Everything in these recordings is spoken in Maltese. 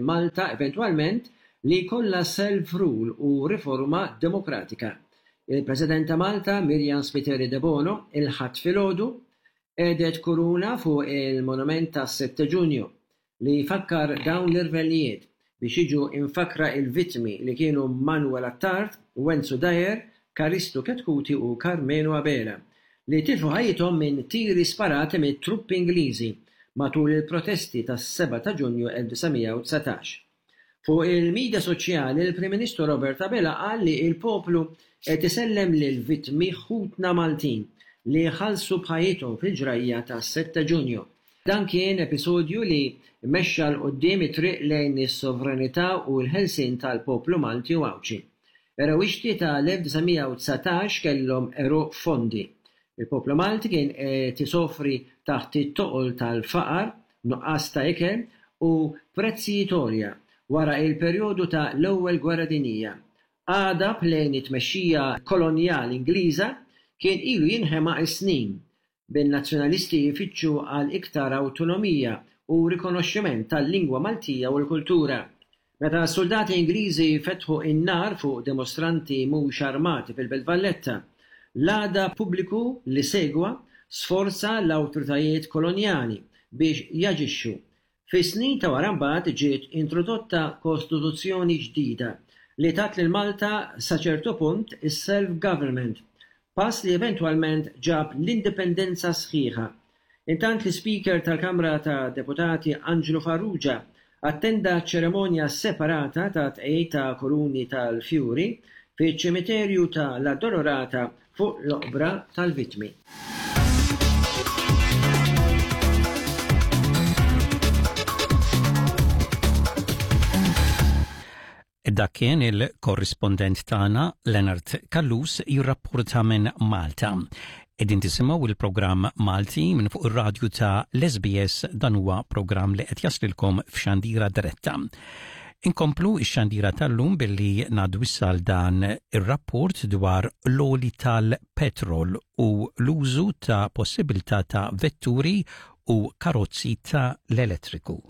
Malta eventwalment li jkollha self-rule u riforma demokratika. Il-President ta' Malta, Myriam Spiteri Debono, il-Ħadd filgħodu, qiegħdet kuruna fuq il-monument tas-Sette Ġunju li jfakkar dawn l-irvellijiet biex jiġu imfakkra il-vittmi li kienu Manuel Attard, Wenzu Dyer, Karistu Chetcuti u Karmenu Abela, li tilfu ħajjithom minn tiri sparati mit-truppi Ingliżi matul il-protesti tas-7 ta' Ġunju 1919. Fuq il-midja soċjali l-Prim Ministru Robert Abela qal li l-poplu qed isellem lill-vittmi ħutna Maltin li ħallsu b'ħajjithom fil-ġrajja tas-7 Ġunju. Dan kien episodju li mexxa 'l quddiem it-triq lejn is-sovranità u l-ħelsien tal-poplu Malti u Għawdxi. Erewixti tal-1919 kellhom għeruq fondi. Il-poplu Malti kien qed isofri taħt it-toqol tal-faqar, nuqqas ta' ikel u prezzijiet għolja wara il-perjodu ta' l-Ewwel Gwerra Dinjija. Għadab lejn it-tmexxija kolonjali Ingliża kien ilu jinħema s-snin bin-Nazzjonalisti jfittxu għal iktar awtonomija u rikonoxximent tal-lingwa Maltija u l-kultura. Meta s-suldati Ingliżi fetħu n-nar fuq dimostranti mhux armati fil-Belt Valletta, l-għadab pubbliku li segwa sforza l-awtoritajiet kolonjali biex jaġixxu Fis-snin ta' wara mbagħad ġiet introdotta kostituzzjoni ġdida li tat lil Malta sa ċertu punt is-self-government, pass li eventwalment ġab l-indipendenza sħiħa. Intant l-Ispeaker tal-Kamra tad-Deputati Anġlu Farrugia attenda ċeremonja separata ta' tqegħid ta' kuruni tal-fjuri fiċ-ċimiterju ta' l-Addolorata fuq l-oqbra tal-vittmi. Dak kien il-korrispondent tagħna Leonard Callus jirrapporta minn Malta. Qegħdin tisimgħu il-programm Malti minn fuq ir-radju ta' l-SBS dan huwa programm li qed jaslilkom f'xandira diretta. Inkomplu x-xandira tal-lum billi ngħaddu issa għal dan ir-rapport dwar l-għoli tal-petrol u l-użu ta' possibilità ta' vetturi u karozzi ta' l-elettriku.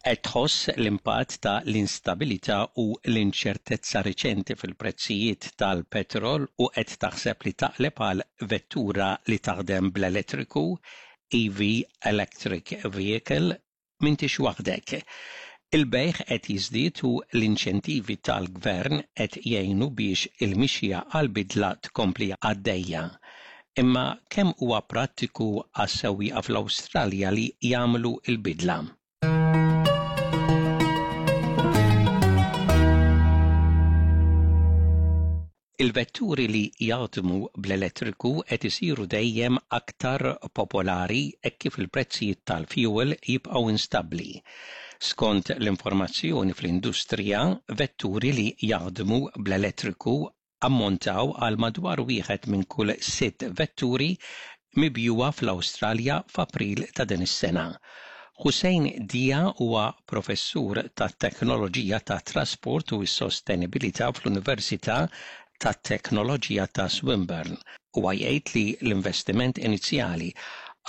Qed tħoss l-impatt ta' l-instabilità u l-inċertezza riċenti fil-prezzijiet tal-petrol u qed taħseb li taqleb għal vettura li taħdem bl-elettriku, EV Electric Vehicle, m'intix waħdek. Il-bejgħ qed jiżdied u l-inċentivi tal-gvern qed jgħinu biex il-mixja għall-bidla tkompli għaddejja. Imma kemm huwa prattiku għas-sewwieqa fl-Awstralja li jagħmlu l-bidla? Il-vetturi li jaħdmu bl-elettriku qed isiru dejjem aktar popolari hekk kif il-prezzijiet tal-fjuwil jibqgħu instabbli. Skont l-informazzjoni fl-industrija, vetturi li jaħdmu bl-elettriku ammontaw għal madwar wieħed minn kull sitt vetturi mibjugħa fl-Awstralja f'April ta' din is-sena. Hussein Dia huwa professur tat-teknoloġija tat-trasport u s-sostenibilità fl-Università tat-Teknoloġija ta' Swinburne. Huwa jgħid li l-investiment inizjali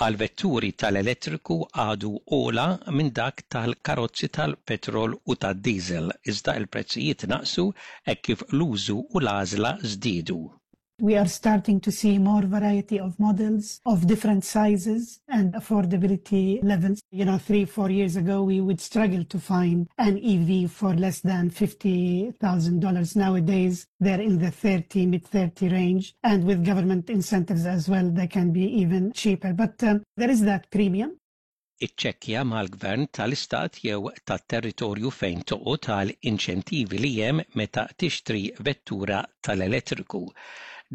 għal vetturi tal-elettriku għadu ogħla minn dak tal-karozzi tal-petrol u tad-diesel, iżda l-prezzijiet naqsu hekk kif l-użu u l-għażla żdiedu. We are starting to see more variety of models of different sizes and affordability levels. You know, three, four years ago, we would struggle to find an EV for less than $50,000. Nowadays, they're in the 30, mid-30 range. And with government incentives as well, they can be even cheaper. But um, there is that premium. Iċċekkja mal-gvern tal-istat jew tat-territorju fejn toqgħod għal inċentivi li hemm meta tixtri vettura tal-elettriku.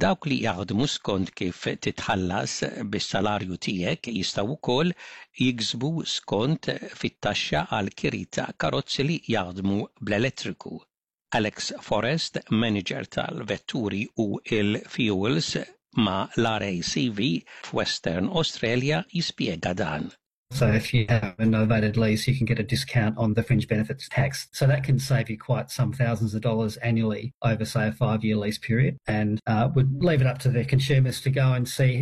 Dawk li jaħdmu skont kif titħallas bis-salarju tiegħek jistgħu wkoll jiksbu skont fit-taxxa għal kiri ta' karozzi li jaħdmu bl-elettriku. Alex Forrest, manager tal-vetturi u l-fuels ma' l-RACV f'Western Australia jispjega dan. So if you have a novated lease, you can get a discount on the fringe benefits tax. So that can save you quite some thousands of dollars annually over, say, a five-year lease period. And uh, would leave it up to the consumers to go and see.